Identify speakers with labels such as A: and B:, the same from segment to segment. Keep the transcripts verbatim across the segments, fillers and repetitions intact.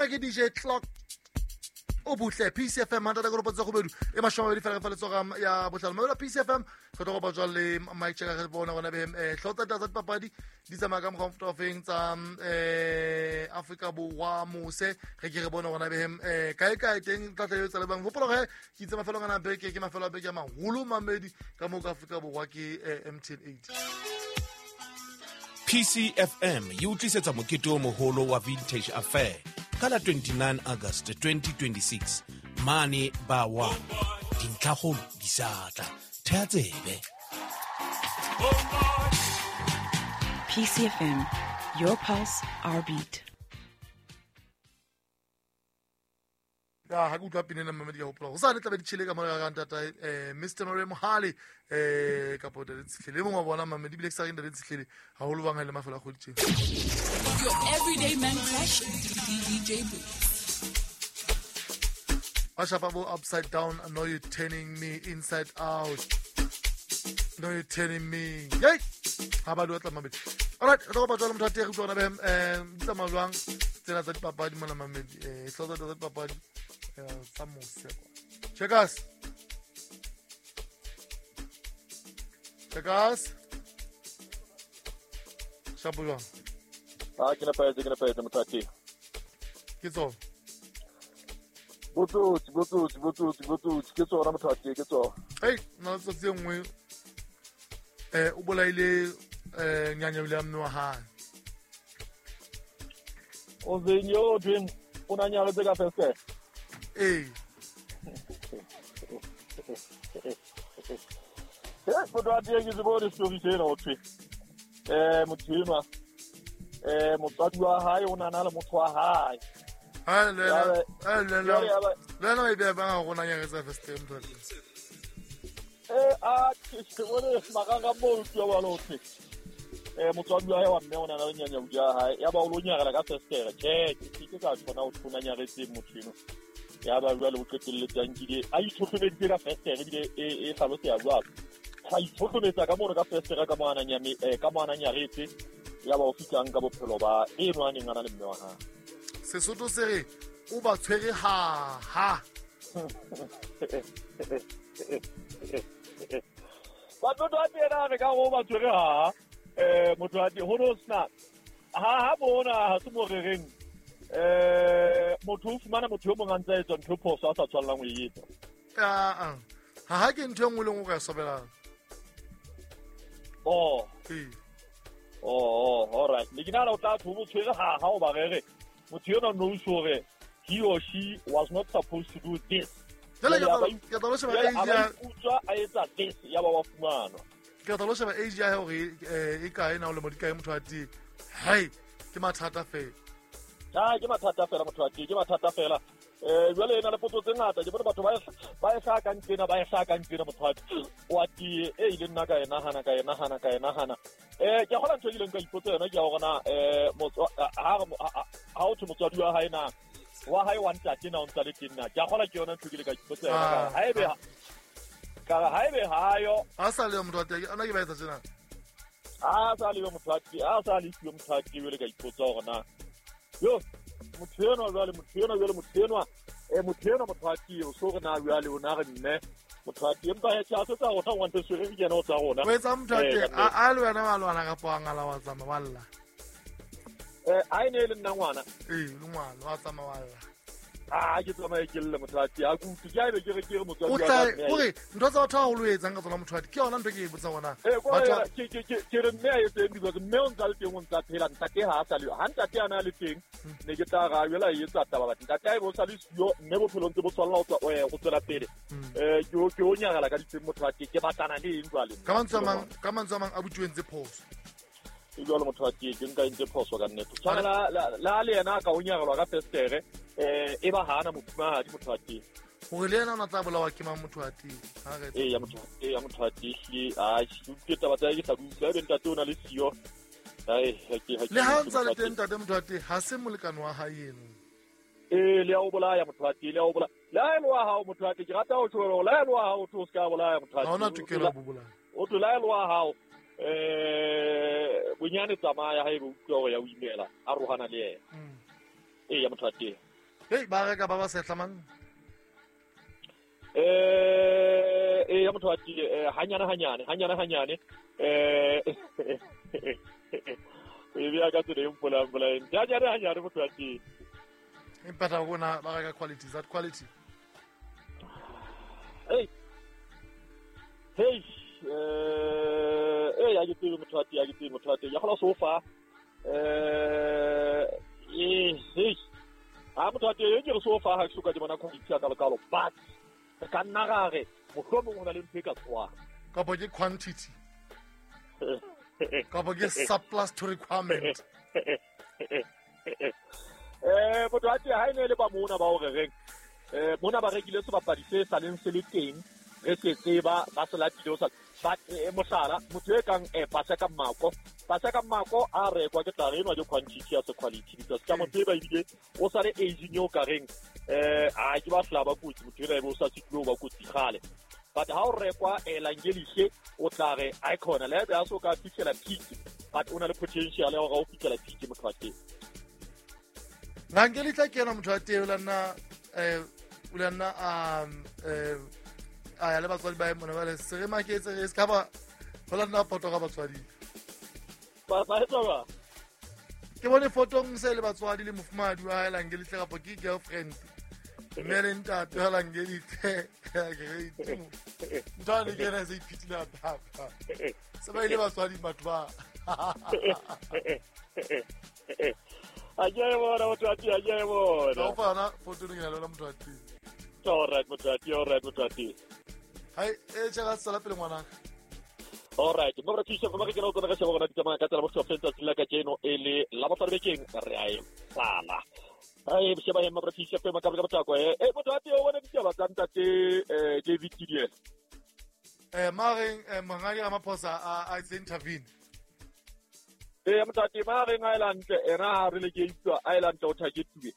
A: Ke D J Clock o butle P C F M mantata go tsa gobedu e mashoma mabedi fela fa letsoga ya botlhano mabela P C F M re tlo go batswa le Mike Cheka re bona gona be hlotsa tsa dipapadi di tsamaya ka mokgwa mofuta wa feng tsa eh Afrika Borwa mose re ke re bona gona be eh kae kae teng tla tla tsa le bang hopola ge ke itse mafelo ngana beke ke mafelo a beke a maholo mamedi ka mo ka Afrika Borwa ke M T N eight.
B: P C F M e utlisetsa mokete o moholo wa Vintage Affair ka la twenty-nine August twenty twenty-six mane ba wa dintlhakgolo di sa tla thea tsebe.
C: P C F M, your pulse, our beat.
A: Ya ha ke utlwa pina ena mmamedi ka hopola ho sa le tla be di tjhele ka mora ka ntata eh Mister Maria Mohale eh kapo Ntate Tshihlele e mong wa bona mmamedi bile ke sa re Ntate Tshihlele haholo bang ha ile mafelo a kgoditjeng.
D: Your everyday man crush D J Boots.
A: Ashapa bo upside down, I know you're turning me inside out. I know you're turning me. Yay! Ha ba lo tla mmamedi. All right, re go batla motho a teng re utlwa be eh tsamaya jwang tsena tsa dipapadi mona mmamedi eh hlotsa tsa dipapadi tsa mose kwa. Checkers. Checkers. Shapo jwang?
E: Ah, ke nepahetse, ke nepahetse motho a teng.
A: Ke tsona.
E: Botsotsi, botsotsi, botsotsi, botsotsi, ke tsona motho a teng, ke tsona.
A: Hey, nna tsotsi e nngwe eh o bolaile eh nyanya ile ya mme wa hae.
E: O zenyo tweng o na nyaletse ka festere.
A: Ee.
E: Eh, motho a teng ke se bone story sena ho thwe. Eh, motho enwa eh motswadi wa hae o nana le motho wa hae.
A: Ha le le le le le e be ba go na nyaletse festere motho a teng.
E: Eh, a ke se bone maganga mo utlwa ba lo thwe. Eh motswadi wa hae wa mme o nana le nyanya ya hae ya ba o lo nyarela ka festere. Tjhe, ke ke ka tshwana o tshwana nyaretse motho eno. Ya ba jwale o qetelletse a nkile a itlhotlhomeditse ka festere ebile e e hlaloseha jwalo. A itlhotlhometsa ka mono ka festere ka mo ana nyame ka mo ana nyaretse ya ba o fihlang ka bophelo ba eno a neng a na le mme wa hae.
A: Sesotho se re o ba tshwere ha ha.
E: Batho ba tena re ka go ba tshwere ha eh motho a di ho no sna ha ha bona ha se mo rereng eh motho o fumana motho yo mong a ntse a etsa ntho phoso a sa tshwanelang ho e etsa.
A: Ah ha ha ke ntho e nngwe le nngwe o ka e sobelang.
E: Oh.
A: Ee.
E: Oh, all right. Le ke nahana o tla tho bo tshwere ha ha o ba rere motho yona knows hore he or she was not supposed to do this.
A: Jwale ke tla lo sheba age ya
E: utswa a etsa this ya ba wa fumanwa.
A: Ke tla lo sheba age ya hore e kae na o le mo di kae motho a teng. Hey, ke mathata fela.
E: Ah, ke mathata fela motho a teng, ke mathata fela. Eh jwale ena le potso tse ngata ke bone batho ba ba e hlaka ntsena ba e hlaka ntsena motho a wa tie e ile nna ka e nahana ka e nahana ka e nahana. Eh ke kgola ntho e ileng ka ipotsa yona ke ya hore na eh motho ha ha o thwe motswadi wa hae na wa hae wa ntate na o ntsa le teng na ke a kgola ke yona ntho ke ile ka ipotsa yona ka ha ebe ka ha ebe hayo
A: ha sa le motho a teng ana ke ba etsa tjena
E: ha sa le motho a teng ha sa le siyo motho a teng jwale ka ipotsa hore na yo motho enwa jwale motho enwa jwale motho enwa eh motho enwa motho a teng o so re na jwale o na re mme motho a teng empa he tjha se tsa rona ngwana se re ke yena o tsa rona
A: o etsa motho a teng a le wena wa lwana ka poangala wa tsamaya wa lla.
E: Eh a ene le nna ngwana
A: ee le ngwana wa tsamaya wa lla.
E: Ah ke tsamaye ke lle motho a teng a kutu ke a ebe ke re ke re motswadi
A: wa ka o re ntho tsa batho haholo o etsang ka tsona motho a teng ke yona ntho ke e botsang hona
E: batho ke ke ke ke re mme a etseng because mme o ntsa le teng o ntsa phela ntate ha a sa le ha ntate a na le teng ne ke tla ra jwela e etsa taba batho ntate a e bo sa le siyo mme bophelo ntse bo tswalla ho tswa go tswela pele eh ke ke o nyarela ka diteng motho a teng ke batlana le eng jwale
A: ka mantswe a mang ka mantswe a mang a butsuweng tse phoso
E: e jwalo motho a teng ke nka entse phoso ka nnete tshwana la la le yena ka o nyarelwa ka festere eh e ba hana mofumahadi motho a teng
A: hore le yena o na tla bolawa ke mang motho a teng ha re
E: e ya motho e ya motho a teng hle a ke taba tsa ke sa utlwa ebe ntate o na le siyo ai ha ke ha
A: le ha ntsa le teng ntate motho a teng ha se molekane wa hae eno
E: e le ya o bolaya motho a teng le ya o bolaya le ha e le wa hao motho a teng ke rata ho tjho le ha e le wa hao o tlo se ka bolaya motho a teng
A: ha ona tokelo ya ho bolaya
E: o tlo le ha e le wa hao eh bonyane tsamaya ha ebe utlwa hore ya o imela a rohana le yena. E ya motho a teng.
A: Hey, ba reka ba ba sehla man.
E: Eh eh ya motho wa tee hanyane hanyane hanyane hanyane eh e bia ka tsela e mpolang mpolang hanyane hanyane motho wa tee.
A: Empa taba bona ba reka quality, is that quality?
E: Hey hey eh eh ya ke tsebe motho wa tee ya ke tsebe motho wa tee ya gola sofa eh eh hey a motho wa tee ke re sofa ha ke soka ke bona quality ya ka lekalo but ka nna ra re mohlomong ho na le ntho e ka tshwara
A: kapo ke quantity kapo ke surplus to requirement.
E: Eh motho wa tee ha e ne le ba mona ba o re reng eh mona ba rekile sebapadi se sa leng se le teng re se tseba ba se latile o sa ba mohlala motho e kang eh Paseka Mako Paseka Mako a rekwa ke tla re enwa ke quantity ya se quality because ka motho e ba ebile o sa le aging eo ka reng eh a ke ba hla ba kotsi motho ena e bo sa sitlo ba kotsi kgale but ha o rekwa Langelihle o tla re icon le be a so ka fihlela peak but o na le potential ya hore o fihlela peak motho wa teng.
A: Langelihle ke yena motho wa teng o la nna eh o la nna um eh a ya le batswadi ba mona ba le se re maketse re se ka ba ho la nna foto ka batswadi
E: ba ba etsa ba
A: ke bone fotong se le batswadi le mofumadi wa Langelihle kapo ke girlfriend mme le ntate wa Langelihle ke re itimo ntho ne ke re se iphitile papa se ba ile batswadi batho ba
E: a ke bona motho wa tee a ke bona
A: o fana foto ne ke na le motho wa tee.
E: All right motho wa tee all right motho wa tee.
A: Hai e tshega tsala pele ngwana.
E: All right mo re thusa go ke no tsena ka sheba gona di tsamaya ka tsela mo sehlopeng tsatsi la kajeno e le la bohlano bekeng re a e sala. Ai sheba he mo re thusa ka ka botlako e e motho wa tee o bona ditaba tsa ntate eh David Thidiela.
A: Eh mareng mongadi Ramaphosa a a itse intervene.
E: Eh motho wa tee mareng a elantle ena ha re le ke itswa a elantle o targetuwe.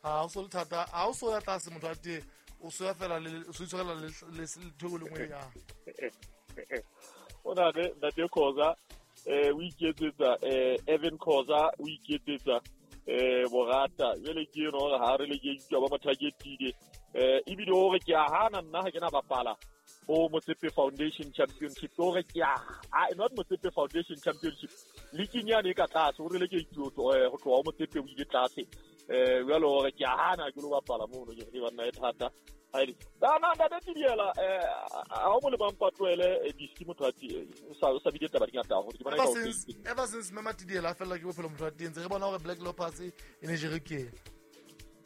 A: Ha o so le thata ha o so ya tlase motho wa tee o so ya fela le o so itshwarela le le theko le nngwe ya.
E: O na le ntate Khoza eh o iketsetsa eh Evan Khoza o iketsetsa eh borata jwale ke eno hore ha re le ke itswa ba mo targetile eh ebile hore ke a hana nna ha ke na bapala ho Motsepe Foundation Championship hore ke a not Motsepe Foundation Championship league nyane e ka tlase hore le ke itso ho tloha ho Motsepe o ile tlase eh jwale hore ke a hana ke lo bapala mono ke re banna e thata haele na na ntate Thidiela eh ha o mo le bampatloele diski motho wa tee o sa o sa bile taba di ngata hore ke bona
A: ever since ever since Mama Thidiela a fella ke bophelo motho wa tee ntse re bona hore Black Leopards e ne jere ke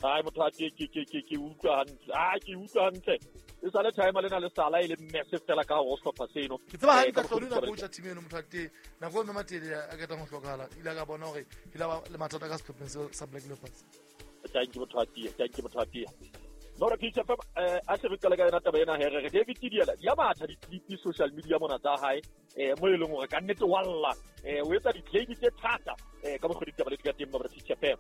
E: ai motho wa tee ke ke ke ke utlwa hantle ah ke utlwa hantle e sa le time le na le sala e le mess fela ka ho sehlopha seno
A: ke tseba hantle tlodi na coach team eno motho wa tee nako e Mama Thidiela a ketang ho hlokahala ile ka bona hore ile ba le mathata ka sehlopheng sa Black Leopards.
E: Thank you motho wa tee thank you motho wa tee no re pitsa fa eh a se re qale ka yona taba ena here re David Thidiela ya matha di-clip social media mona tsa hae eh mo e leng hore ka nnete walla eh o etsa di-claim tse thata eh ka mokgwa ditaba le di ka teng ba re pitsa fa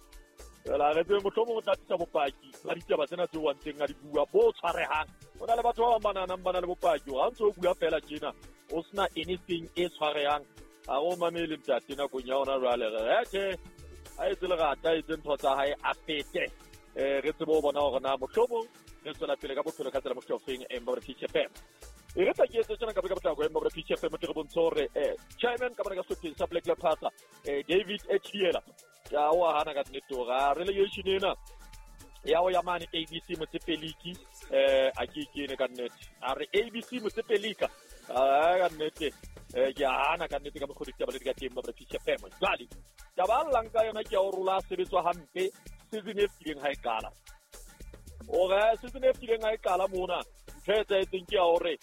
E: la re tse mohlomong o tla tlisa bopaki ba ditaba tsena tse o ntseng a di bua bo tshwarehang o na le batho ba bang ba nahanang ba na le bopaki ha ntse o bua fela tjena o sena anything e tshwarehang ha o mamele ntate nakong ya hona jwale re tjhe a etse lerata a etse ntho tsa hae a fete eh re tsebe ho bona hore na mohlomong re tswela pele ka bophelo ka tsela mohlofeng e mba re P F M e re tla ke etse tjena ka ka potlako e mba re P F M re bontshe hore eh chairman ka bona ka sehlopheng sa Black Leopards eh David Thidiela ya o hana ka nnete hore a relegation ena ya o ya mane A B C Motsepe League eh a ke kene ka nnete a re A B C Motsepe League a ka nnete eh ke hana ka nnete ka mokgwa ditaba le di ka teng ba re P F M jwale taba llang ka yona ke ya o rola sebetswa hampe season e fetileng ha e qala ore season e fetileng ha e qala mona ntho e etsahetseng ke ya hore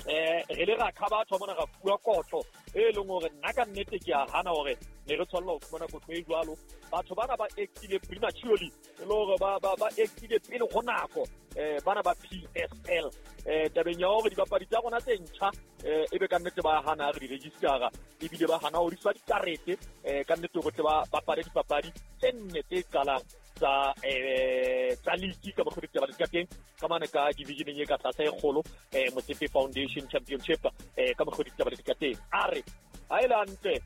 E: eh re le ra kha batho mona ra fuwa kotlo e leng hore nna ka nnete ke a hana hore ne re tshwanela ho fumana kotlo e jwalo batho bana ba actile prematurely e le hore ba ba ba actile pele ho nako eh bana ba P S L eh tabeng ya hore dibapadi tsa rona tse ntjha eh ebe ka nnete ba hana re di registera ebile ba hana ho di fa dikarete eh ka nnete hore ba bapale dipapadi tse nne tse qalang tsa eh tsa league ka mokgwa ditaba di ka teng ka mane ka divisioneng e ka tlase e kgolo eh Motsepe Foundation Championship eh ka mokgwa ditaba di ka teng a re ha e le hantle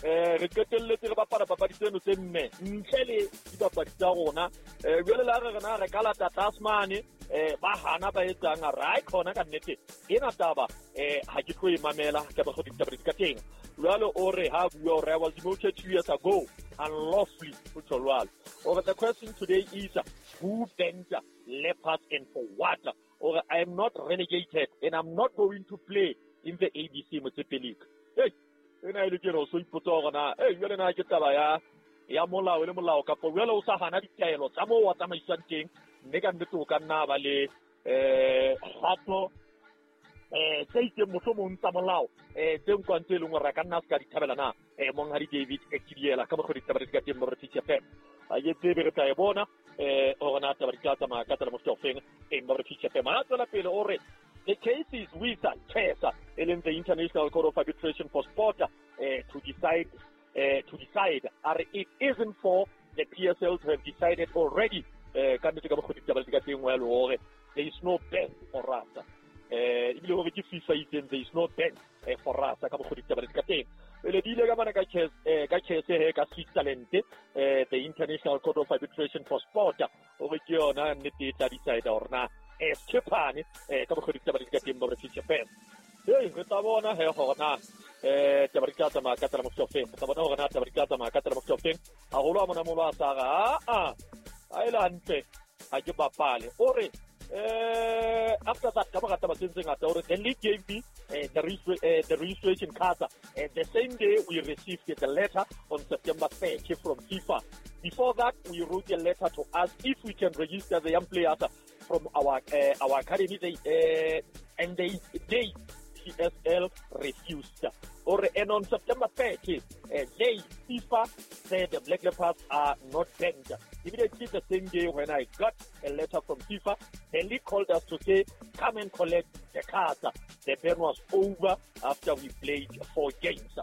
E: Eh re qetelletse re bapala papadi tseno tse nne ntle le dipapadi tsa rona. Eh jwale la re rena re ka lata tlase eh ba hana ba etsang a re khona ka nnete ena taba eh ha ke tlo e mamela ka ba go ditaba di ka teng. Jwale o re ha bua o re I was demoted two years ago unlawfully o tjho jwalo. Or the question today is who banned Leopards and for what? Or I am not relegated and I'm not going to play in the A B C Motsepe League. Hey, ena ile ke re so ipotsa hore na eh jwale na ke taba ya ya molao le molao kapa jwale o sa hana ditaelo tsa moo wa tsamaiswang teng mme ka nnete o ka nna ba le eh kgato eh tse itseng mohlomong tsa molao eh tse nkwang tse leng hore a ka nna a se ka di thabela na eh monghadi David Ekidiela ka mokgwa ditaba di ka teng mo re P C F M a ke tsebe re tla e bona eh hore na taba di tla tsamaya ka tsela mofuta ofeng e mo re P C F M a tswela pele o re the case is with CHESA, in the International Court of Arbitration for Sport, uh, to decide. Uh, to decide, are it isn't for the P S L to have decided already. There is no ban for us. There is no ban for us. The International Court of Arbitration for Sport, decide eh ka bogodi taba di ka teng mo re P C F M. Hey, re tla bona he hore na eh taba di tla tsamaya ka tsela mofuta ofeng. Re tla bona hore na taba di tla tsamaya ka tsela mofuta ofeng. Haholo a mona molo a sa re a a a ile hantle ha ke bapale. O re eh after that ka mora taba tse tse ngata o re the league gave me eh, the eh, the registration card and the same day we received the letter on September thirtieth from FIFA. Before that we wrote a letter to ask if we can register the young players from our uh, our academy, they, uh, and they they P S L refused. Or and on September thirtieth, uh, they FIFA said the Black Leopards are not banned. Immediately the same day when I got a letter from FIFA, the league called us to say, come and collect the cards. The ban was over after we played four games.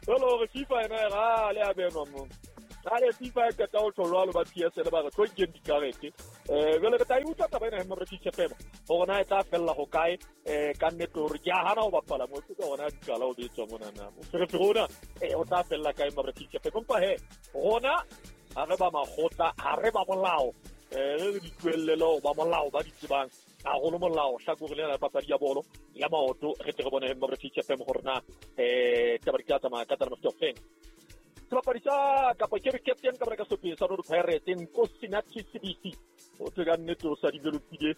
E: Well, FIFA and I are Ale FIFA e qeta ho tjho jwalo ba P S L ba re tlo nkeng dikarete. Eh jwale re tla e utlwa taba ena he mo re P C F M hore na e tla fella ho kae eh ka nnete hore ke a hana ho bapala mo ke hona dikala o betswa mona na. Moferefere ona eh o tla fella kae mo re P C F M empa he rona ha re ba makgotla ha re ba molao eh re di tlohellele ba molao ba di tsebang haholo molao hlakore lena la papadi ya bolo ya maoto re tle re bone he mo re P C F M hore na eh taba di tla tsamaya ka tsela mofuta ofeng. Sebapadi sa kapa ke captain ka baraka sopeng sa Orlando Pirates Nkosinathi Sibisi o tse ka nnete o sa developile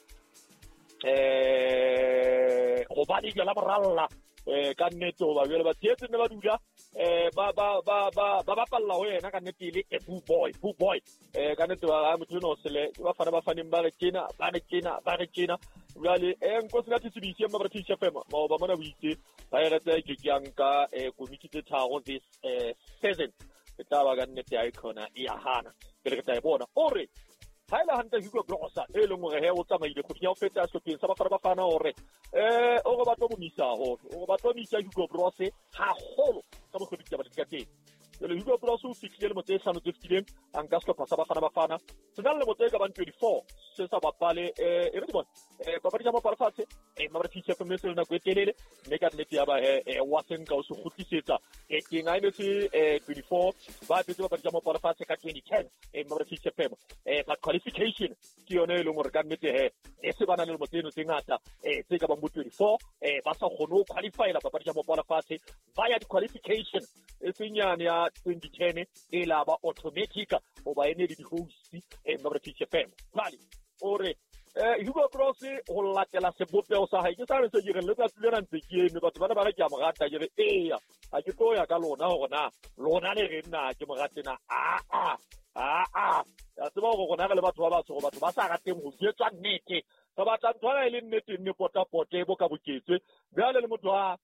E: eh hobane jwala moralla eh ka nnete hoba jwale ba tsetse ne ba dula eh ba ba ba ba ba bapalla ho yena ka nnete le a boo boy boo boy eh ka nnete ba motho no sele ba fana ba faneng ba re tjena ba re tjena ba re tjena jwale eh Nkosinathi Sibisi mma ba re P C F M maoba mona bo itse Pirates ke ke nka eh komiti tse tharo this eh season e tla ba ka nnete ya ikhona e ya hana pele re tla e bona o re ha ile hantle Hugo Broos e leng hore he o tsamaile kgweding ya ho feta sehlopheng sa Bafana Bafana hore eh o re ba tlo mo misa haholo o re ba tlo misa Hugo Broos haholo ka mokgwa ditaba di ka teng. Jwale Hugo Broos o fihlile lemo tse hlano tse fetileng a nka sehlopha sa Bafana Bafana se na le lemo tse ka bang twenty-four se sa bapale eh e re di bone eh papadi tsa mapala fatshe eh mabra P C F M se le nako e telele mme ka nnete ya ba eh wa se nka o se kgutlisetsa eh teng a e se eh twenty-four ba petse papadi tsa mapala fatshe ka twenty ten eh mabra P C F M eh but qualification ke yone e leng hore ka nnete he e se bana le lemo tseno tse ngata eh tse ka bang bo twenty-four eh ba sa kgone ho qualifyela papadi tsa mapala fatshe ba ya di-qualification e senyane ya twenty ten e la ba automatic hoba e ne le di-host eh mabra P C F M jwale o re eh Hugo Broos ho latela sebopeho sa hae ke sa re se ke re letsatsi lena ntse ke eme batho bana ba re ke a mo rata ke re eya ha ke tlo ya ka lona hore na lona le re nna ke mo rate na a a a a ya tseba hore rona re le batho ba batsho gore batho ba sa rateng ho jwetswa nnete re batla ntho ena e le nnete nne potapote e bo ka boketswe jwale le motho ha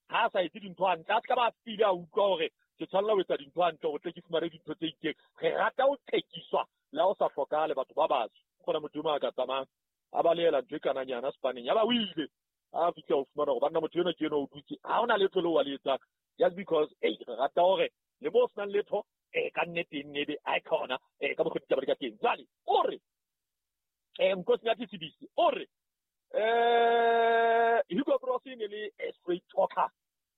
E: ha sa etse dintho hantle a se ka ba file a utlwa hore ke tshwanela ho etsa dintho hantle hore tle ke fumane dintho tse itseng re rata ho qhekiswa le ha o sa hlokahale batho ba batsho kgona motho o a ka tsamayang a balehela ntho e kananyana sepaneng ya ba o ile a fihla ho fumana hore banna motho enwa ke enwa o dutse ha hona letho leo wa le etsang just because ei re rata hore le mo senang letho eh ka nnete nne be a khona eh ka mokgwa ditaba di ka teng jwale o re eh Nkosinathi Sibisi o re eh Hugo Broos e ne le a straight talker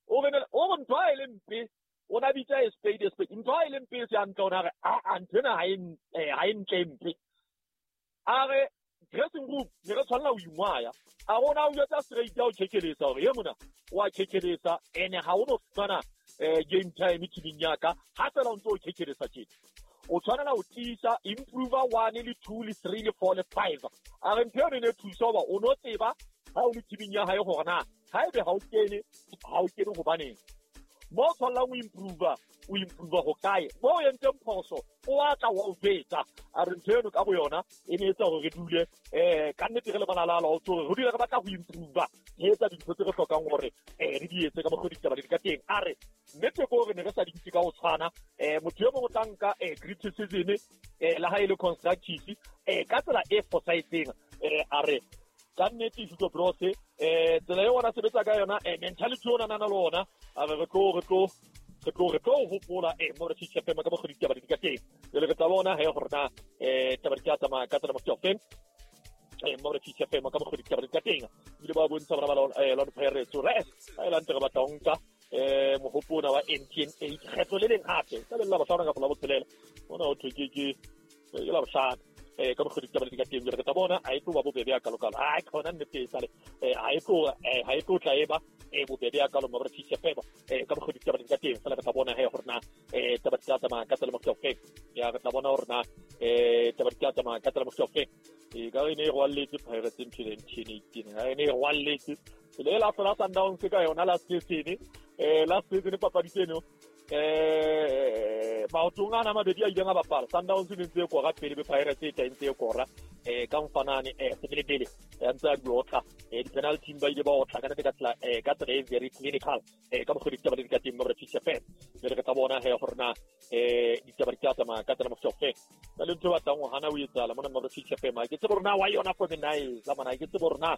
E: o re o re ntho ha e le mpe o na bitsa a spade a spade ntho ha e le mpe se hantle o na re a a ntho ena ha e ha e ntle mpe a re dressing room ne re tshwanela ho ingwaya a rona o jwetsa straight ya o chekelesa hore ye mona wa chekelesa ene ha o no fumana game time teaming ya ka ha fela o ntso o chekelesa tjena o tshwanela ho tiisa improve one le two le three le four le five a re ntho eno ne thusa hoba o no tseba ha o le teaming ya hae hore na haebe ha o kene ha o kene hobaneng mo tshwanela o improve o improve ho kae mo o entseng phoso o a tla wa o jwetsa a re ntho eno ka bo yona e ne etsa hore re dule um ka nnete re le banalala o tsore re dule re batla ho improve re etsa dintho tse re hlokang hore um re di etse ka mokgwa ditaba di ka teng a re nnete ke hore ne re sa di ntse ka ho tshwana um motho e mongwe o tla nka um criticism um le ha e le constructive um ka tsela e fosahetseng um a re ka nnete Hugo Broos eh tsela eo ona sebetsa ka yona eh mentality ona nana le ona a re re tlo re tlo re tlo re tlo hopola eh mo re tshitshe ka mokgwa ditaba di ka teng jwale re tla bona he hore na eh taba di ka tsamaya ka tsela mofuta ofeng eh mo re tshitshe ka mokgwa ditaba di ka teng ebile ba bontsha bana ba eh Orlando Pirates re ha e la ntse re batla ho nka eh mohopona wa M T N eight kgetlo le leng hape ka le la bohlano kapa la botshelela ona ho thwe ke ke ke la bohlano eh ka mokgwa ditaba di ka teng jwale re tla bona ha e tlo ba bobebe ya kalokalo ha e khona nnete e sale eh ha e tlo ha e tlo tla eba eh bobebe ya kalo mo re tshitshe fela eh ka mokgwa ditaba di ka teng fela re tla bona he hore na eh taba di tla tsamaya ka tsela mofuta ofeng ya re tla bona hore na eh taba di tla tsamaya ka tsela mofuta ofeng e ka re ne e rwalletse Pirates ntho le M T N eighteen ha e ne e rwalletse le la hlola Sundowns ka yona last season eh last season papadi tseno eh maotong ana mabedi a ileng a bapala Sundowns e ntse e kora pele be Pirates e tla ntse e kora eh ka mfanane eh sebelebele ya ntse a di otla eh di-penalty ba ile ba otla ka nnete ka tsela eh ka tsela e very clinical eh ka mokgwa ditaba di ka teng mo re tshitshe fela jwale re tla bona he hore na eh ditaba di tla tsamaya ka tsela mofuta ofeng ka le ntho e batlang ho hana o etsahala mona mo re tshitshe fela ke tsebe hore na why yona for me na e tsa mona ke tsebe hore na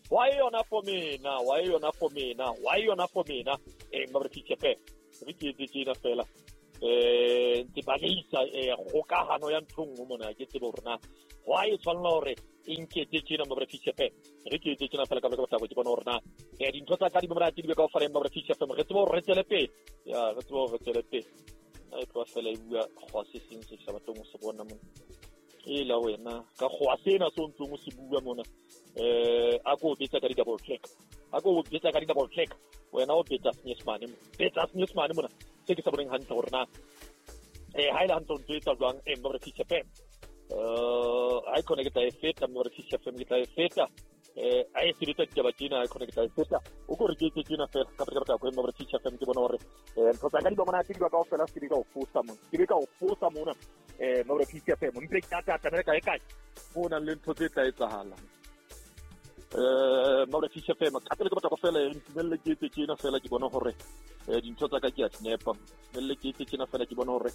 E: why yona for me na why yona for me na why yona for me na eh mo re tshitshe fela re ke etse tjena fela eh ntse ba leisa eh kgokahano ya ntho nngwe mona ke tsebe hore na why e tshwanela hore e nketse tjena mo re tshitshe fela re ke etse tjena fela ka baka ke bona hore na eh dintho tsa ka di monate di be kaofela mo re tshitshe fela re tsebe hore re tswele pele ya re tsebe hore re tswele pele a e tloha fela e bua kgwa se seng se sa batleng ho se bona mona e la wena ka kgwa sena se o ntsong o se bua mona eh a ko betsa ka di-double click a ko betsa ka di-double click wena o betsa senyesemane mo betsa senyesemane mona se ke sa boneng hantle hore na eh ha e le hantle o ntso etsa jwang eh mo re tshitshe fela eh ha e khone ke tla e feta mo re tshitshe fela ke tla e feta eh ha e sebetsa ditaba tjena ha e khone ke tla e feta o ko re ke etse tjena fela ka pele ka batla mo re tshitshe fela ke bona hore eh ntho tsa ka di ba monate di ba kaofela se ke ka o fosa mona ke be ka o fosa mona eh mo re tshitshe fela mpe ke tata tata kae kae ho na le ntho tse tla etsahala eh mo re tshitshe fela ka pele ke batla go fela ntumelle ke etse tjena fela ke bona hore eh dintho tsa ka ke a nepa ntumelle ke etse tjena fela ke bona hore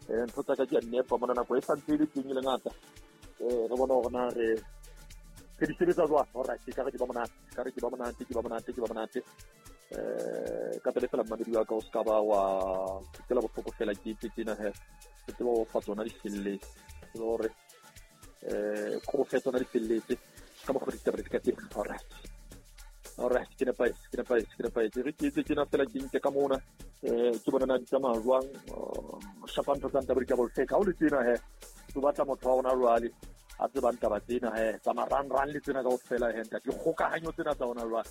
E: eh ntho tsa ka ke a nepa mona nako e santse e le teng e le ngata eh re bona hore na re re di sebetsa jwang alright ke ka re ke ba monate ka re ke ba monate ke ba monate ke ba monate eh ka pele fela mmamedi wa ka o ska ba wa tsela bohloko fela ke etse tjena he ke tseba ho fa tsona di felletse tseba hore eh ko fe tsona di felletse ka mokgwa ditaba di ka teng alright alright ke nepahetse ke nepahetse ke nepahetse re ke etse tjena fela ke nke ka mona eh ke bona na di tsamaya jwang shapa ntho tsa ntaba di double check ha o le tjena he o batla motho wa ona jwale a tsebang taba tsena he tsa marangrang le tsena kaofela he ntate dikgokahanyo tsena tsa ona jwale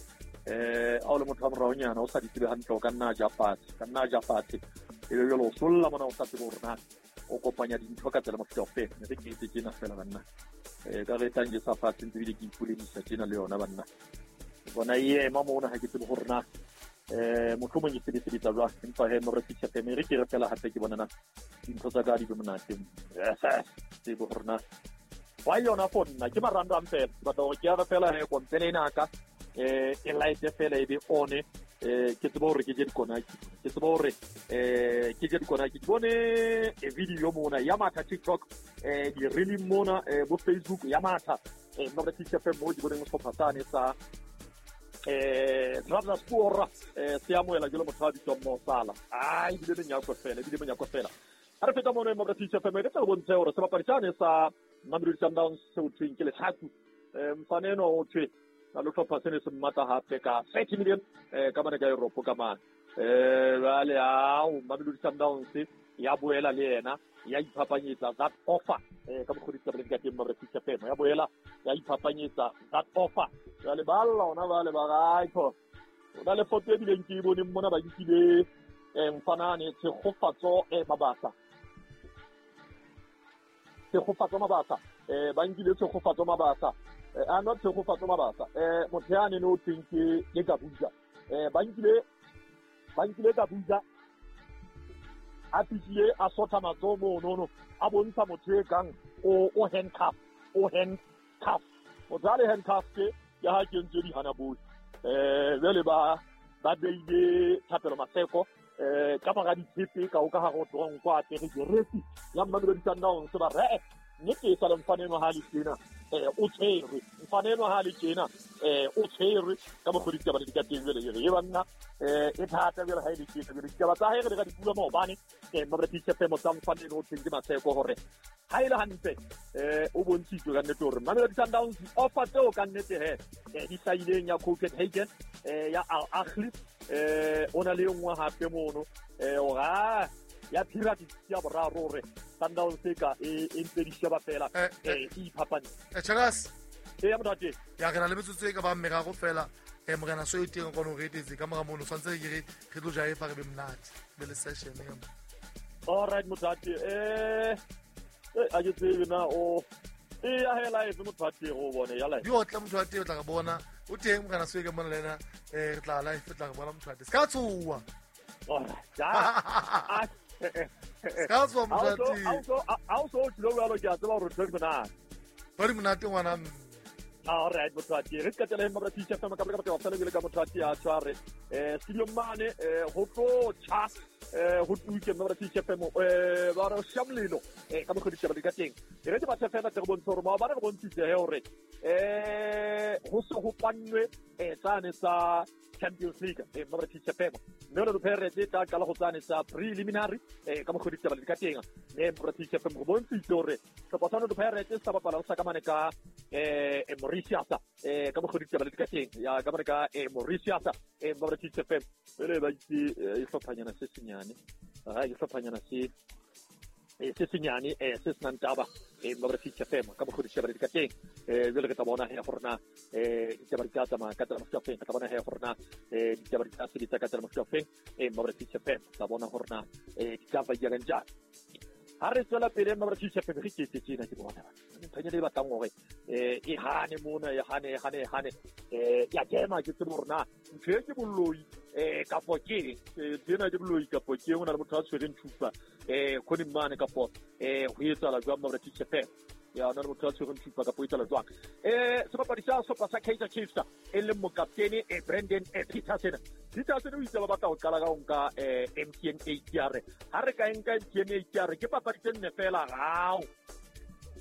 E: eh ha o le motho wa moraonyana o sa di tsebe hantle o ka nna a ja fatshe ka nna a ja fatshe ebe jwale o solla mona o sa tsebe hore na o kopanya dintho ka tsela mofuta ofeng re ke etse tjena fela banna eh ka re tlang ke sa fatshe ntse ebile ke ipoledisa tjena le yona banna bona e ema mona ha ke tsebe hore na eh mohlomong e sebetsa jwang empa he mo re tshitshe fela re ke re fela hape ke bona na dintho tsa ka di be monate tsebe hore na why yona for nna ke marangrang fela ke batla hore ke ya fela he kompele ena ka eh e light fela e be on eh ke tsebe hore ke je dikonaki ke tsebe hore eh ke je dikonaki ke bone e video mona ya matha TikTok eh di reel mona eh bo Facebook ya matha eh mo re tshitshe fela mo di boneng sehlopha sane sa eh Trabzonspor eh se amohela jalo motho a bitswang Mo Salah ai ebile menyako fela ebile menyako fela ha re feta mono mo re tshitshe fela re tla bontshe hore sebapadi sane sa Mamelodi Sundowns se ho thweng ke Letlhaku eh mfana enwa o thwe na le hlopha sene se mmatla hape ka thirty million eh ka mane ka Europe ka mane Eh jwale ao Mamelodi Sundowns ya boela le yena ya iphapanyetsa that offer eh ka mokgwa ditaba di ka teng mabra P C F M ya boela ya iphapanyetsa that offer. Jwale ba lla ona ba le ba raitho o na le foto e bileng ke e boneng mona ba nkile eh mfanane Tshegofatso e Mabasa Tshegofatso Mabasa eh ba nkile Tshegofatso Mabasa eh a not Tshegofatso Mabasa eh motho ya ne no teng ke ke Kabuja eh ba nkile ba nkile Kabuja a fihlile a sotha matsoho mono a bontsha motho e kang o o handcuff o handcuff motho a le handcuff ke ya ha kentswe dihana bohle eh jwale ba ba beile Thapelo Maseko eh ka mora ditshepe ka o ka hare ho tronko a apere jeresi ya Mamelodi Sundowns ba re nnete e sa le mfana enwa ha le tjena eh o tshwerwe mfana enwa ha le tjena eh o tshwerwe ka mokgwa ditaba di ka teng jwale jwale e banna eh e thata jwale ha e le tjena jwale ditaba tsa hae re ka di bua maobane eh Mamelodi P C F M tsa mfana enwa o teng ke Maseko hore ha e le hantle eh o bontshitswe ka nnete hore Mamelodi Sundowns offer tseo ka nnete he eh di hlahileng ya Copenhagen eh ya Al Ahly eh o na le nngwe hape mono eh ora ya Pyramids ya boraro hore Sundowns e ka e ntse di sheba fela eh e iphapane
A: eh Chagas
E: e ya motate
A: ya re na le metsotso e ka ba meraro fela eh morena so e teng kono re etetse ka mora mono tshwantse ke re re tlo jae fa re be monate be le session ya.
E: All right motate eh eh a ke tsebe na o e ya hela e motate go bone ya live
A: di otla motho wa teng o tla re bona o teng morena so e ka mona le ena eh re tla live tla re bona motho wa teng ska tsoa.
E: All right ja
A: ska tsoa motho wa teng
E: a o so tlo jalo ke a tseba hore tlo monate
A: ba di monate ngwana.
E: All right motate re ka tsela mabra teacher fa ka ka ka tsela le ka motate a tshware eh studio mane eh ho tlo cha eh ho tuke mabra teacher fa mo eh ba re shamlelo eh ka mokgwa ditaba di ka teng re ke batla fela tle go bontsha hore maobane re bontshitse he hore eh ho se ho pannwe eh tsane tsa Champions League eh mabra teacher fa mme re Pirates e tla qala go tsane tsa preliminary eh ka mokgwa ditaba di ka teng mme mabra teacher fa go bontshitse hore sehlopha sa Pirates sa bapala sa ka mane ka eh Mauritius eh ka mokgwa ditaba di ka teng ya ka mane ka eh Mauritius eh mabra teacher fa pele ba itse e hlophanyana se senyane ha e hlophanyana se e se senyane eh se senang taba eh mabra teacher fa ka mokgwa ditaba di ka teng eh jwale re tla bona he gore na eh ditaba di tla tsamaya ka tsela mofuta ofeng, re tla bona he gore na eh ditaba di tla sebetsa ka tsela mofuta ofeng eh mabra teacher fa tla bona gore na eh di tla ba jang jang. Ha re tswela pele mabra teacher fa re ke tsena ke bona nthonyana e batlang hore eh e hane mona e hane e hane e hane eh ya kema ke tsebe hore na ntho e ke boloi eh kapo ke tsena ke boloi kapo ke hona le motho a tshwereng thupa eh khone mane kapo eh ho etsahala jwang mabra teacher fa ya ona le motho a tshwereng thupa kapo etsahala jwang eh sebapadi sa sehlopha sa Kaizer Chiefs e leng mokaptene eh Brandon eh Petersen Petersen o itse ba batla ho qala ka ho nka eh M T N eight ya re ha re ka nka M T N eight ya re ke papadi tse nne fela rao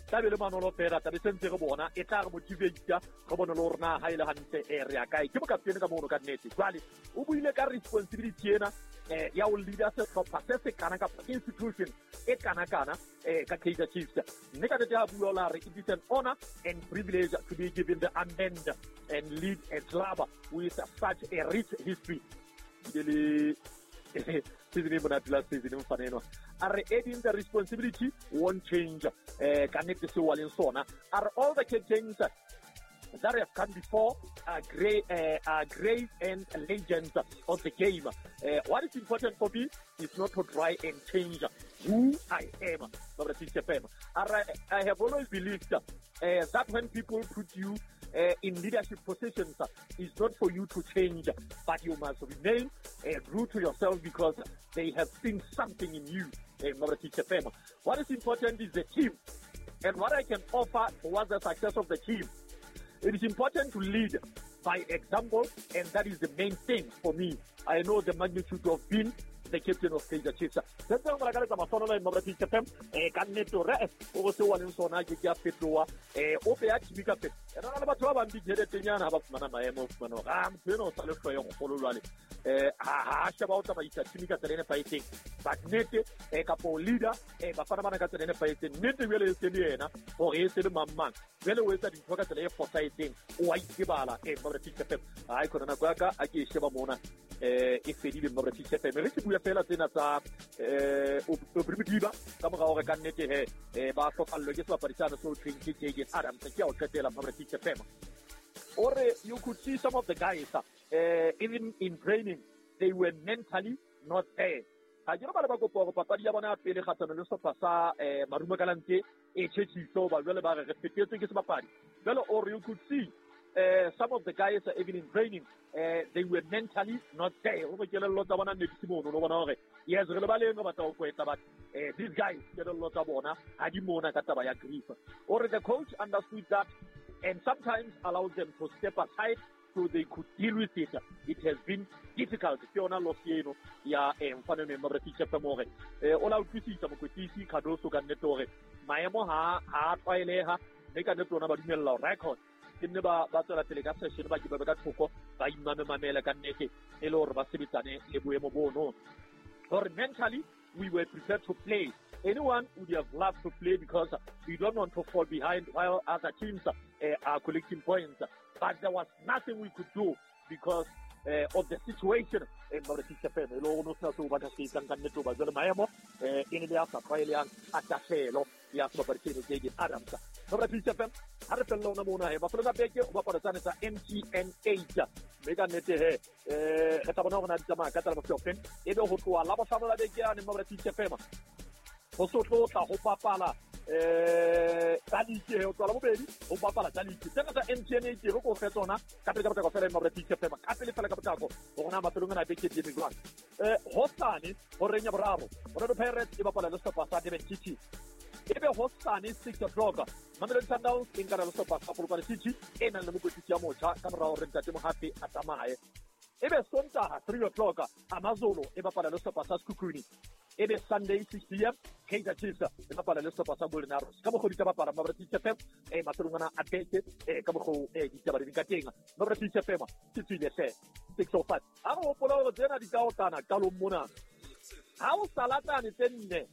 E: tlabe le manolo fela tlabe sentse re bona e tla re motivate re bone le hore na ha ile hantle e re ya kae ke mokaptene ka mono ka nnete jwale o buile ka responsibility ena eh ya ho leader sehlopha se se kana kapa institution e kana kana eh ka Kaizer Chiefs mme ka nnete ha bua la re it is an honor and privilege to be given the armband and lead a club with such a rich history le season e monate la season mfana enwa a re adding the responsibility won't change eh ka nnete seo wa leng sona a re all the captains that have come before are great, uh, are great and legends of the game. Uh, what is important for me is not to try and change who I am. I have always believed uh, that when people put you uh, in leadership positions, it's not for you to change, but you must remain uh, true to yourself because they have seen something in you. Uh, what is important is the team and what I can offer towards the success of the team. It is important to lead by example, and that is the main thing for me. I know the magnitude of being the captain of Kaizer Chiefs. Sentse re ka masono le Mabra Chiefs F M eh ka nnete re o se wa leng sona ke ke a fetoa eh o pe ya tshimika fe. Re na le batho ba bang ditjheletenyana ha ba fumana maemo o fumana hore ah motho ena o sa le hloyo go golo jwale. eh ha sheba o tsamaisa team ka tsela e nepahetseng, but nnete eh kapo leader eh bafana bana ka tsela e nepahetseng. Nnete jwale e se le yena hore e se le mang mang, jwale o etsa dintho ka tsela e fosahetseng, o a itebala. Eh Mabra P C F M ha e khona nako ya ka a ke e sheba mona eh e fedile Mabra P C F M. Re ke bua fela tsena tsa eh Aubrey Modiba ka mora hore ka nnete he eh ba hlokallwe ke sebapadi sane so thweng ke Jayden Adams. Ke a o qetela Mabra P C F M. Or you could see some of the guys uh, even in training they were mentally not there. Ha ke re ba le ba kopa hore papadi ya bona ya pele kgahlano le sehlopha sa eh Marumo Gallants e tjhetjhiso ba jwale ba re re fetetswe ke sebapadi. Jwale or you could see Uh, some of the guys uh, even in training uh, they were mentally not there. Hore kelello tsa bona ne di se mono, no bona hore yes re le baleng re batla ho kwetla, but uh, these guys kelello tsa bona ha di mona ka taba ya grief. Or the coach understood that and sometimes allowed them to step aside so they could deal with it. It has been difficult. Ke yona loss eno ya eh mfana me Mabra P C F M hore eh o la utlwisisa mokwetlisi Cardoso ka nnete hore maemo ha ha tlwaeleha, mme ka nnete ona ba dumella ho record ke nne ba ba tswela pele ka session, ba ke ba ka thoko ba imame mamela ka nnete e le hore ba sebetsane le boemo bono. Hore mentally we were prepared to play. Anyone would have loved to play because we don't want to fall behind while other teams uh, are collecting points. But there was nothing we could do because uh, of the situation. E le hore no sena seo ba ka se etsang ka nnete hoba jwale maemo eh e ne le a sa tlwaelehang a tahlehelo ya sebapadi seno Jayden Adams. Mabra P C F M ha re fella ona mona he bafana ba beke o bapala tsane tsa M T N eight, mme ka nnete he eh re tla bona hore na di tsamaya ka tsela bofe. E be ho tloha la bohlano la beke yane Mabra P C F M ho so tlo tla ho papala eh tsa league, ho tloha la bobedi ho bapala tsa league tsena tsa M T N eight re ko fe tsona ka pele ka potlako fela Mabra P C F M ka pele fela ka potlako hore na mafelong ana beke di eme jwang. Eh hosane horeng ya boraro Orlando Pirates e bapala le sehlopha sa Durban City. Ebe hosane six o'clock Mamelodi Sundowns e nkana le sehlopha sa Polokwane City e nang le mokwetlisi ya motjha ka mora hore Ntate Mohape a tsamaye. Ebe Sontaha three o'clock Amazulu e bapala le sehlopha sa Sekhukhune. Ebe Sunday six p m Kaizer Chiefs e bapala le sehlopha sa Golden Arrows. Ka mokgwa ditaba bapala Mabra P C F M eh mafelong ana a beke eh ka mokgwa eh ditaba di ka teng. Mabra P C F M ke tswile hle six oh five. Ha re hopola hore tsena di ka otana qalong mona. Ha o salatane tse nne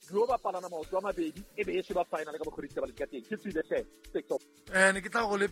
E: di o bapalana maoto a mabedi e be e sheba final ka mokgwa ditaba di ka teng. Ke tswile hle six oh.
A: Eh ne ke tla go le